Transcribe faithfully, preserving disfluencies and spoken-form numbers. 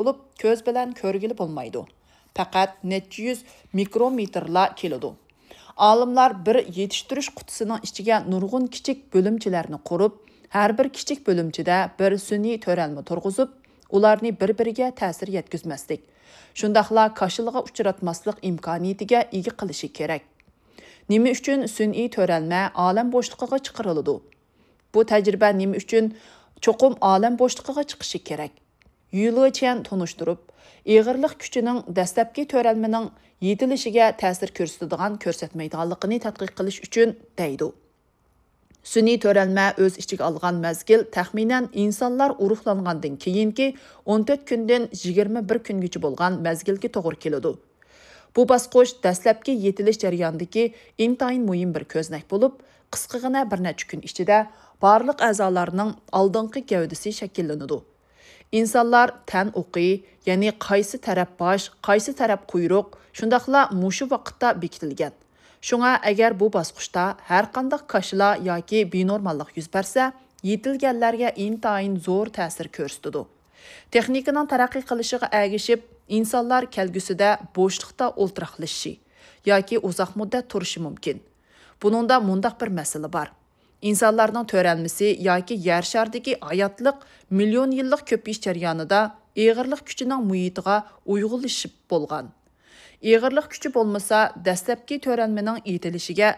بولۇپ، كۆز بىلەن كۆرگىلى بولمايدۇ. پەقەت نەچچە يۈز مىكرومېتىرلا كېلىدۇ. ئالىملار بىر يېتىشتۈرۈش قۇتىسىنىڭ ئىچىگە نۇرغۇن كىچىك بۆلۈمچىلەرنى قۇرۇپ، ھەر بىر كىچىك بۆلۈمچىدە بىر سۈنئىي تۆرەلمە تۇرغۇزۇپ، ئۇلارنى بىر-بىرىگە تەسىر يەتكۈزمەسلىك، شۇنداقلا كاشىلىغا ئۇچراتماسلىق ئىمكانىيىتىگە ئىگە قىلىشى كېرەك. نېمە ئۈچۈن سۈنئىي تۆرەلمە ئالەم بوشلۇقىغا چىقىرىلىدۇ؟ بۇ تەجرىبە نېمە ئۈچۈن چوقۇم ئالەم بوشلۇقىغا چىقىشى كېرەك؟ يۈ لېچيەن تونۇشتۇرۇپ، ئېغىرلىق كۈچىنىڭ دەسلەپكى تۆرەلمىنىڭ يېتىلىشىگە تەسىر كۆرسىتىدىغان كۆرسەتمەيدىغانلىقىنى تەتقىق قىلىش ئۈچۈن دەيدۇ. سۈنئىي تۆرەلمە ئۆز ئىچىگە ئالغان مەزگىل تەخمىنەن ئىنسانلار ئۇرۇقلانغاندىن كېيىنكى ئون تۆت كۈندىن يىگىرمە بىر كۈنگىچە بولغان مەزگىلگە توغرا كېلىدۇ. بۇ باسقۇچ دەسلەپكى يېتىلىش جەريانىدىكى ئىنتايىن مۇھىم بىر كۆزنەك بولۇپ، قىسقىغىنە بىر نەچچە كۈن ئىچىدە بارلىق ئەزالارنىڭ ئالدىنقى گەۋدىسى شەكىللىنىدۇ. ئىنسانلار تەن ئوقى، يەنى قايسى تەرەپ باش، قايسى تەرەپ قۇيرۇق، شۇنداقلا مۇشۇ ۋاقىتتا بېكىتىلگەن. شۇڭا ئەگەر بۇ باسقۇچتا ھەرقانداق كاشىلا ياكى بىنورماللىق يۈز بەرسە، يېتىلگەنلەرگە ئىنتايىن زور تەسىر كۆرسىتىدۇ. تېخنىكىنىڭ تەرەققىي قىلىشىغا ئەگىشىپ، ئىنسانلار كەلگۈسىدە بوشلۇقتا ئولتۇراقلىشىشى ياكى ئۇزاق مۇددەت تۇرۇشى مۇمكىن. بۇنىڭدا مۇنداق بىر مەسىلە بار. ئىنسانلارنىڭ تۆرەلمىسى ياكى يەر شارىدىكى ھاياتلىق مىليون يىللىق كۆپىيىش جەريانىدا ئېغىرلىق كۈچىنىڭ مۇھىتىغا ئۇيغۇنلىشىپ بولغان. ئېغىرلىق كۈچى بولمىسا، دەسلەپكى تۆرەلمىنىڭ يېتىلىشىگە